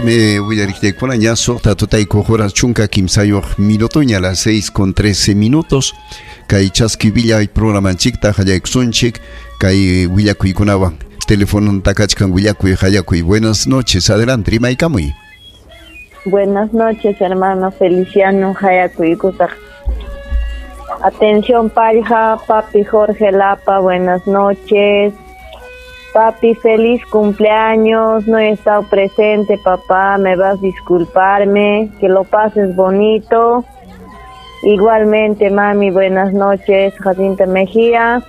Willariqllaykuna ña suqta tutaykuq horas 13 minutoña, las 6:13. Kay chaski villay programanchikta qallaykusunchik kay willakuykunawan. Telefononta kachkan willakuy qallakuy. Buenas noches, adelante, rimaykamuy. Buenas noches, hermano Feliciano Hayakuykusaq. Atención, Palja, papi Jorge Lapa, buenas noches. Papi, feliz cumpleaños. No he estado presente, papá, me vas a disculparme. Que lo pases bonito. Igualmente, mami, buenas noches. Jacinta Mejía.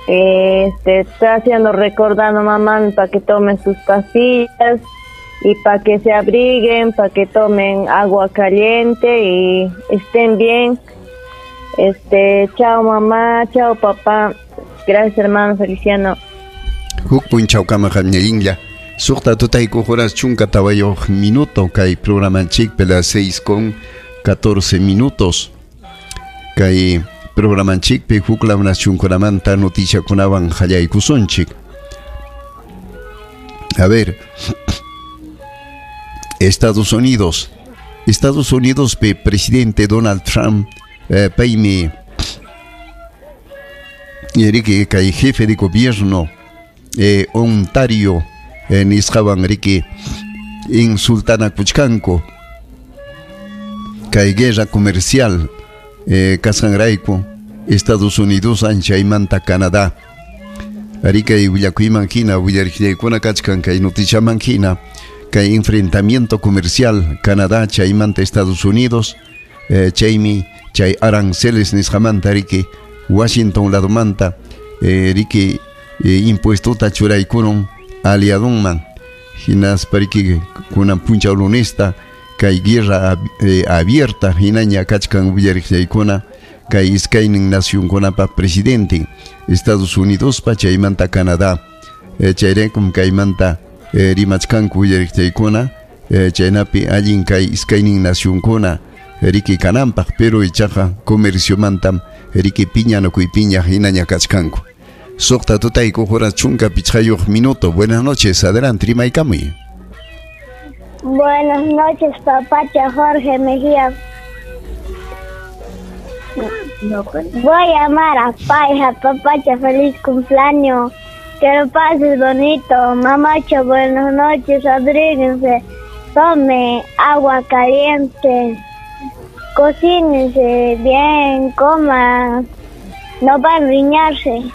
Está haciendo recordando mamá para que tomen sus pastillas y para que se abriguen, para que tomen agua caliente y estén bien. Chao mamá, chao papá. Gracias, hermano Feliciano. Huk punchawkama qamñallinlla. Suqta tutaykuq horas 14 minuto kay programanchikpi, las 6:14. Kay programanchikpi huklaw nacionkunamanta noticiakunawan qallaykusunchik. A ver, Estados Unidos. Estados Unidos pe presidente Donald Trump, paymi riki kay jefe de gobierno Ontario nisqawan riki insultanakuchkanku kay guerra comercial kasqanrayku Estados Unidos anchaymanta Canadá. Rikay willakuyman hina willariqllaykuna kachkan kay noticiaman hina kay enfrentamiento comercial Canadá chaymanta Estados Unidos, chaymi chay aranceles nisqamanta riki Washington ladomanta riki impuestota churaykurun aliadunman hinaspa riki kunan punchaw lunesta kay guerra abierta hinaña kachkan willariqllaykuna kay iskaynin nacionkunapa presidente Estados Unidospa chaymanta Canadá, chayraykum kaymanta rimachkanku willariqllaykuna, chaynapi allin kay iskaynin nacionkuna riki kananpaq, pero ichaqa comerciomantam riki piñanakuypiña hinaña kachkanku. Suqta tutaykuq horas 15 minuto. Buenas noches, adelante, rimaykamuy. Buenas noches, papacha Jorge Mejía. Voy a llamar a Paija, papacha, feliz cumpleaños. Que lo pases bonito. Mamacho, buenas noches, abríguense. Tome agua caliente. Cocínense bien, coman. No van a riñarse.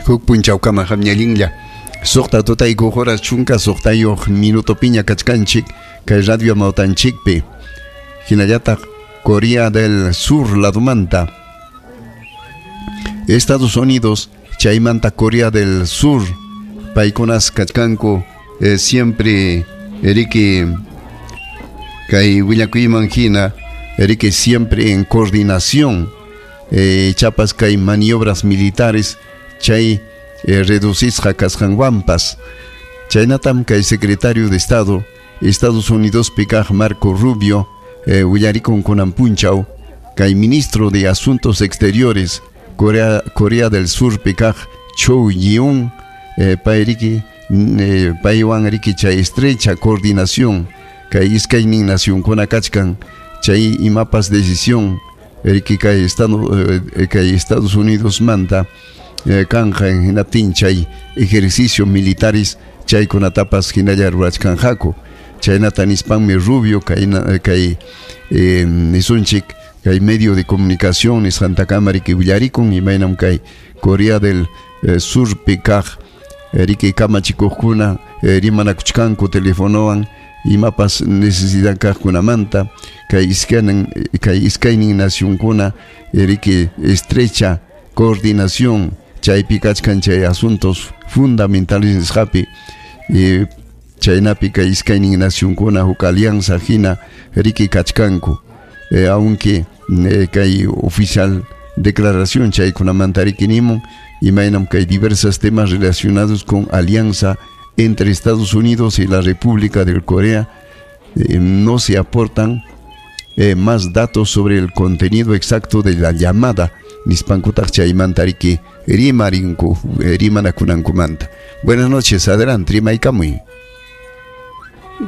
Huk punchawkama qamñallinlla. Suqta tutaykuq horas 16 minuto piña kachkanchik kay radio mawtanchikpi. Hinallataq Corea del Sur ladomanta. Estados Unidos chaymanta Corea del Sur paykunas kachkanku siempre riki kay willakuyman hina riki siempre en coordinación, chapas kay maniobras militares chay reducisqa kasqanwanpas. Chaynatam kay secretario de Estado Estados Unidos pikaq Marco Rubio willarikun kunan punchaw kay ministro de Asuntos Exteriores Corea del Sur pikaq Cho Yeon, payriki paywan riki chay estrecha coordinación kay iskaynin nacionkuna kachkan chay imapas decisión riki kay Estado, kay Estados Unidos manta kanja hinaptin chay ejercicios militares chaykunatapas hinalla rurachkanqaku. Chaynata nispanmi Rubio kay nisunchik kay medio de comunicación nisqantakama riki willarikun imaynam kay Corea del Sur pikaq riki kamachikuqkuna rimanakuchkanku telefonowan imapas necesidad kaqkunamanta kay iskaynin nacionkuna riki estrecha coordinación chaypi kachkan chay asuntos fundamentales nisqapi, chaynapi kay iskaynin nacionkuna huk alianza hina riki kachkanku, aunque kay oficial declaración chaykunamanta riki nimun imaynam kay diversos temas relacionados con alianza entre Estados Unidos y la República de Corea, no se aportan más datos sobre el contenido exacto de la llamada Nispankutaq chaymanta riki rimarinku rimanakunankumanta. Buenas noches, adelante, rimaykamuy.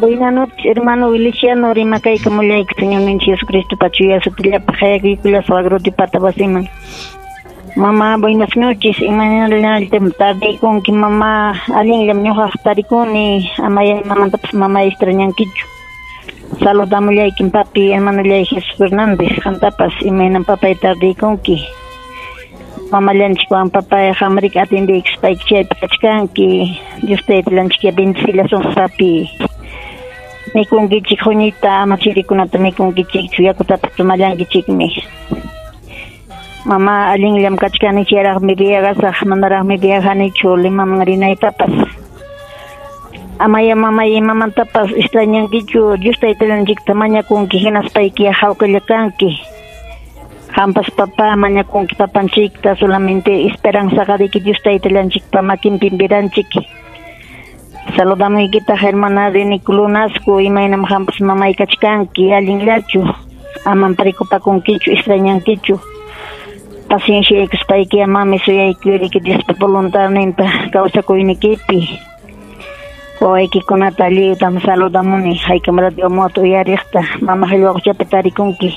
Buenas noches, hermano Feliciano, rimakaykamullayki Señorninchik Jesucristo pachuya sutillapaq hayakuykulla suagrotipata wasiman. Mamá, buenas noches, imaynallam tardaykunki mamá, allinllam ñuqaq tarikuni, amaya imamantapas mamá extrañankichu. Saludamullaykim papi, hermanollay Jesús Fernández, qamtapas imaynam papay tardaykunki. Mamallanchikwan papay qamriki atendiykuspayki chaypi kachkanki. Dios taytallanchik bendecillasun papi. Mikunkichik huñita, ama chirikunata mikunkichikchu, yakutapas tomallankichikmi. Mamá, allinllam kachkani, chayraqmi viagasaq, manaraqmi viajanichu Limaman rinaytapas. Amaya mamay imamantapas extrañankichu, Dios taytallanchikta mañakunki, hinaspayki hawkalla kanki. Qampas papá mañakunki papanchikta, solamente esperanzaqariki Dios taytallanchikpa makinpim vidanchik. Saludamuykitaq hermana Reni Lunasco, imaynam qampas mamay kachkanki, allinllachu, amam preocupakunkichu, extrañankichu. Paciencia mami suyaykuyki Diospa voluntadninta kawsakuynikipi. Wawaykikunata lliwtam saludamuni, haykam radio moto uyariqta, mama qillwaquchapi tarikunki.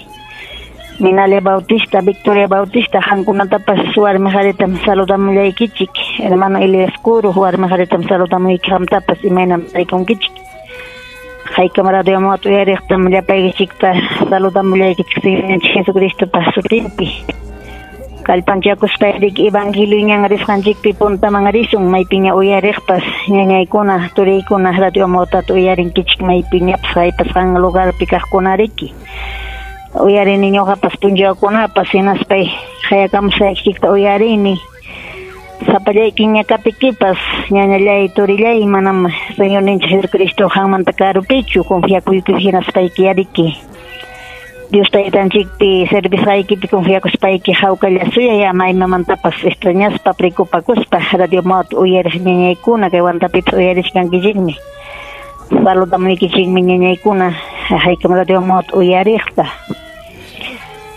Minalia Bautista, Victoria Bautista, qamkunatapas warmi qharitam saludamullaykichik. Hermano Elias Curo, warmi qharitam saludamuyki qamtapas imaynam tarikunkichik. Haykam radio moto uyariqtam llapaykichikta saludamullaykichik Señorninchik Jesucristopa sutinpi. Kallpanchakuspayki evangelio ñan risqanchikpi puntaman risun, maypiña uyariqpas ñañaykuna, turiykuna radio motata uyarinkichik maypiñapas haypasqan lugarpi kaqkunariki. Uyarini ñuqapas punchawkunapas hinaspay hayakamusqaykichikta uyarini. Sapallaykiña kapikipas ñañallay turillay manam Señorninchik Jesucristo qanmanta karupichu confiakuyki hinaspayki yariki. Dios taytanchikpi servisqaykipi confiakuspayki hawkalla suyay ama imamantapas extrañaspa preocupakuspa radio mot uyariq ñañaykuna kay Huantapipas uyarishkankichikmi. Saludamuykichikmi ñañaykuna haykam radio mot uyariqta.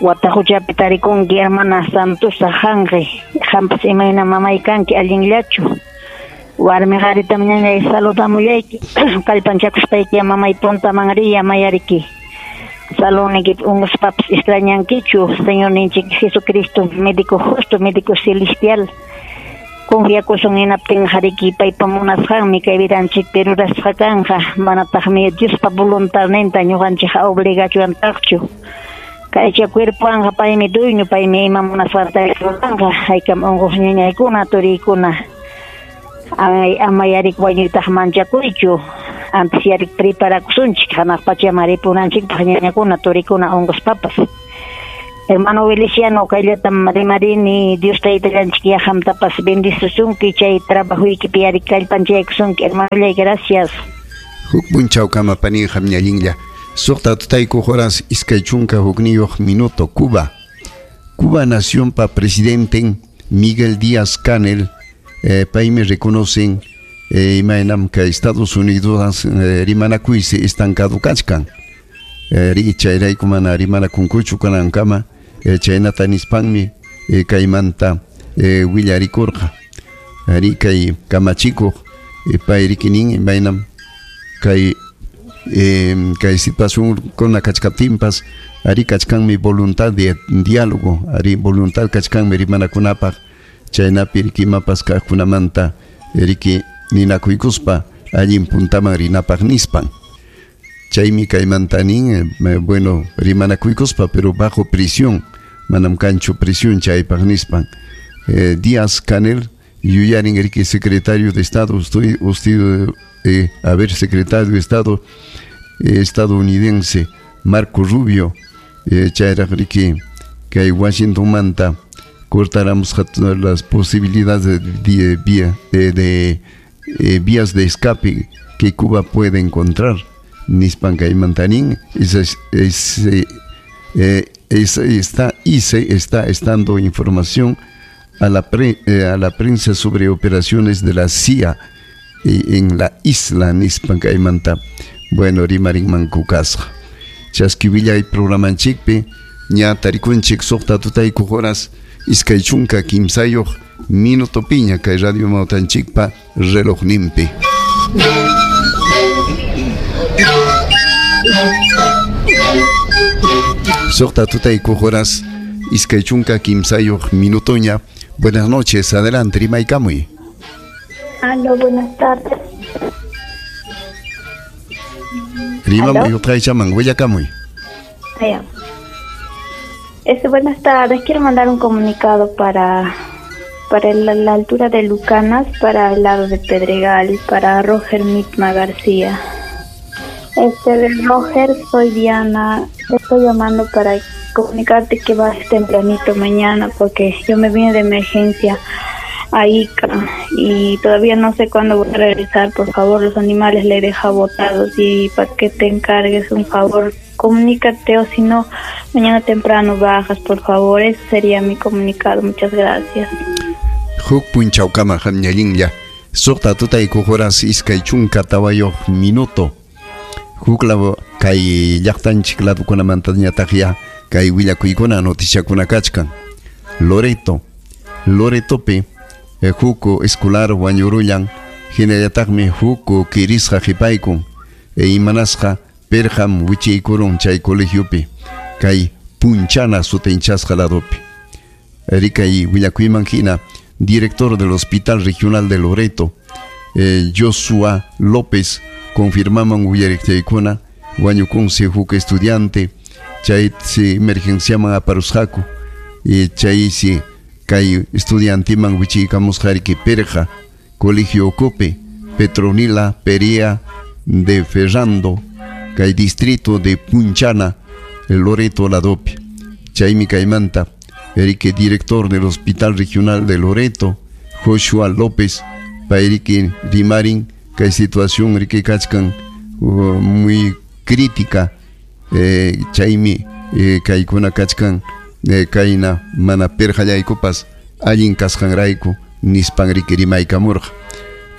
Wataquchapi tarikunki hermana Santusa Janqi, qampas imayna mamay kanki allinllachu. Warmi qharitam ñañay saludamullayki kallpanchakuspayki mamay puntaman riya mayariki. Saloniki unquspapas extrañankichu Señorninchik Jesucristo, médico justo, médico celestial. Confiakusun hinaptin hariki paypa munasqanmi kay vidanchikpi rurasqa kanja, manataqmi Diospa voluntadninta ñuqanchik obligachuantaqchu. Kaycha cuerpoanqa paymi dueño, paymi ima munasqanta ruranqa, haykam unquq ñañaykuna, turiykuna. Ay, ama yarik wañuytaq manchakuychu. Antes yarik preparakusunchik, hanaq pachaman ripunanchikpaq ñañakuna, turikuna unquspapas. Hermano Feliciano, kayllatam rimarini, Dios taytallanchik yaqamtapas bendisusunki, chay trabajuykipi yarik kallpanchaykusunki, hermanollay, gracias. Huk punchawkama paninqa ñallinlla. Suqta tutayku horas iskay chunka hukniyuq minuto, Cuba. Cuba nacionpa presidente Miguel Díaz Canel, paymi reconocen imaynam kay Estados Unidos rimanakuysi estancado kachkan. Ri chayrayku mana rimanakunkuchu kanankama, chaynata nispanmi kaymanta willarikurqa. Ri kay kamachikuq pay rikinin imaynam kay kay situación kuna kachkaptinpas ari kachkanmi voluntad de diálogo, ari voluntad kachkanmi rimanakunapaq, chaynapi riki imapas kaqkunamanta riki ninakuykuspa allin puntaman rinapaq nispan. Chaymi kaymanta nin, bueno, rimanakuykuspa pero bajo prisión, manam kanchu prisión chaypaq nispan. Díaz Canel yuyarin riki secretario de Estado, usted, a ver, secretario de Estado estadounidense Marco Rubio, chayraq riki kay Washington manta cortáramos las posibilidades de vías de escape que Cuba puede encontrar. Nispan kaymantanin, se está estando información a la prensa sobre operaciones de la CIA en la isla nispan kaymanta. Bueno, rimarin mankukasqa. Chaskivillay programanchikpi ña tarikunchik suqta tutayku horas 23 minutopiña kay Radio Amawtanchikpa relojninpi. Suqta tutaykuq horas 23 minutoña. Buenas noches, adelante, rimaykamuy. Aló, buenas tardes. Rimamuy utqaychaman, willakamuy. Allá. Buenas tardes, quiero mandar un comunicado para la altura de Lucanas, para el lado de Pedregal, para Roger Mitma García. Roger, soy Diana, te estoy llamando para comunicarte que vas tempranito mañana porque yo me vine de emergencia a Ica y todavía no sé cuándo voy a regresar. Por favor, los animales le deja botados y para que te encargues un favor, comunícate o si no, mañana temprano bajas, por favor. Ese sería mi comunicado. Muchas gracias. Huk punchawkama hamñallinlla suqta tutaykuq horas 24 minuto. Huk lado kay llaqtanchik ladukunamantañataqya kay willakuykuna noticiakuna kachkan. Loretopi huk escolar wañurullan hinallataqmi huk kirisqa qipaykun imanasqa perqam wichiykurun chay colegiopi kay Punchana sutinchasqa ladopi. Rikay willakuyman hina director del Hospital Regional de Loreto, Joshua López, confirmaman willariqchaykuna wañukunsi huk estudiante chay si emergenciaman aparusqaku chaysi kay estudiantiman wichiykamusqariki perqa colegio ukupi Petronila Perea de Ferrando kay distrito de Punchana Loreto ladopi. Chaymi kaymanta erike director del Hospital Regional de Loreto Joshua López payriki rimarin kay situación riki kachkan muy crítica chaymi kaykuna kachkan kayna mana perqallaykupas allin kasqanrayku nispan riki rimaykamurqa.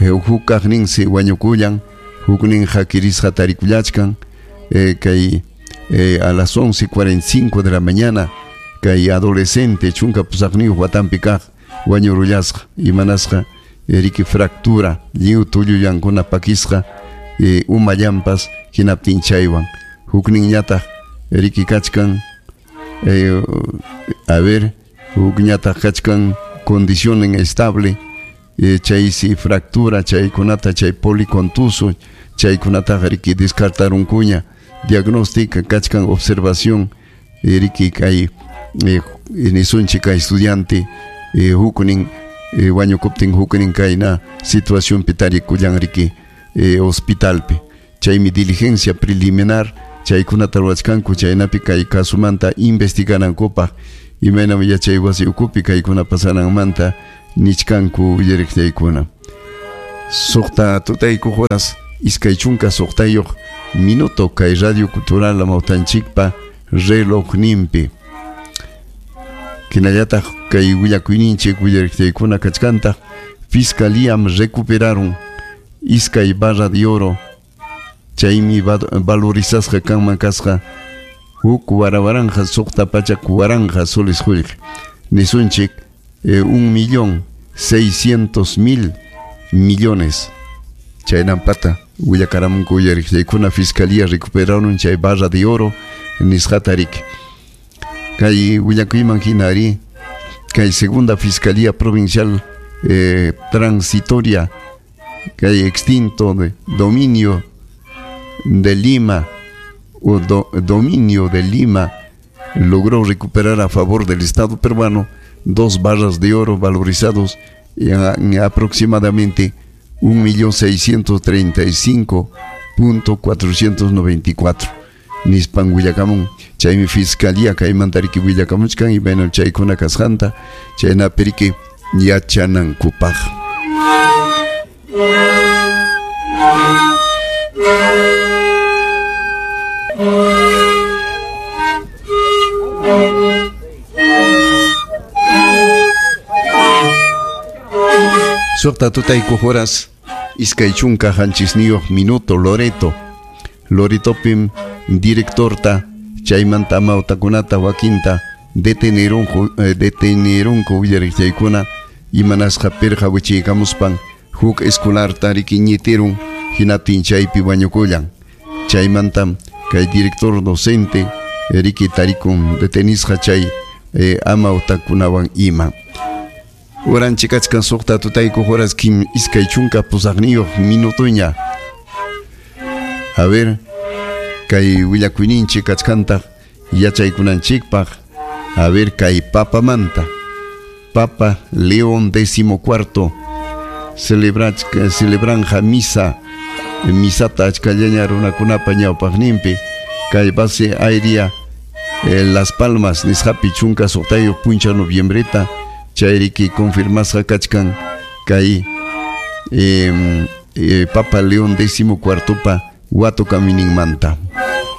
Huk kaqninsi wañukullan hukninqa kirisqa tarikullachkan kay a las 11:45 de la mañana kay adolescente 18 watanpi kaq wañurullasqa imanasqa riki fractura lliw tullullankuna pakisqa umallanpas hinaptin chaywan hukninñataq riki kachkan a ver hukñataq kachkan condición estable chaysi fractura chaykunata chay policontuso chaykunataqa riki descartarunkuña diagnóstica kachkan observación riki kay nisunchik kay estudiante huknin wañukuptin huknin kayna situacionpi tarikullan riki hospitalpi chaymi diligencia preliminar chaykunata ruwachkanku chaynapi kay kasumanta investiganankupaq imaynam yachay wasi ukupi kaykuna pasananmanta nichkanku willariqchaykuna. Suqta tutaykuq horas 26 minuto kay Radio Cultural Amawtanchikpa relojninpi. Hinallataq kay willakuyninchik willariqchaykuna kachkantaq fiscalíam recuperaron iskay barra de oro chaymi valorizasqa kanman kasqa huk warawaranja 640,000 soles qullqi nisunchik 1.600.000 millones chaynampata willakaramunku willariqchaykuna fiscalía recuperaron chay barra de oro nisqata riki. Kay willakuyman hina ari kay segunda fiscalía provincial transitoria kay extinto de dominio de Lima o dominio de Lima logró recuperar a favor del Estado peruano 2 barras de oro valorizados en aproximadamente 1.635.494 nispan willakamun chaymi fiscalía kaymanta riki willakamuchkan imaynam chaykuna kasqanta chaynapi riki yachanankupaq. Suqta tutaykuq horas 27 minuto Loreto. Loretopim directorta chaymanta amawtakunata wakinta Detenerunku detenerunku willariqchaykuna imanasqa pirqa wichiykamuspan huk escolarta riki ñitirun hinaptin chaypi wañukullan. Chaymantam kay director docente riki tarikun detenisqa chay amawtakunawan ima. Uranchik kachkan suqta tutaykuq horas kim iskay chunka pusaqniyuq minutuña. A ver, kay willakuyninchik kachkantaq yachaykunanchikpaq. A ver, kay papamanta. Papa León XIV celebranja misa misata achkallaña runakunapa ñawpaqninpi kay base aérea Las Palmas nisqapi chunka suqtayuq puncha noviembreta chayriki confirmasqa kachkan kay Papa León XIV watukamuyninmanta.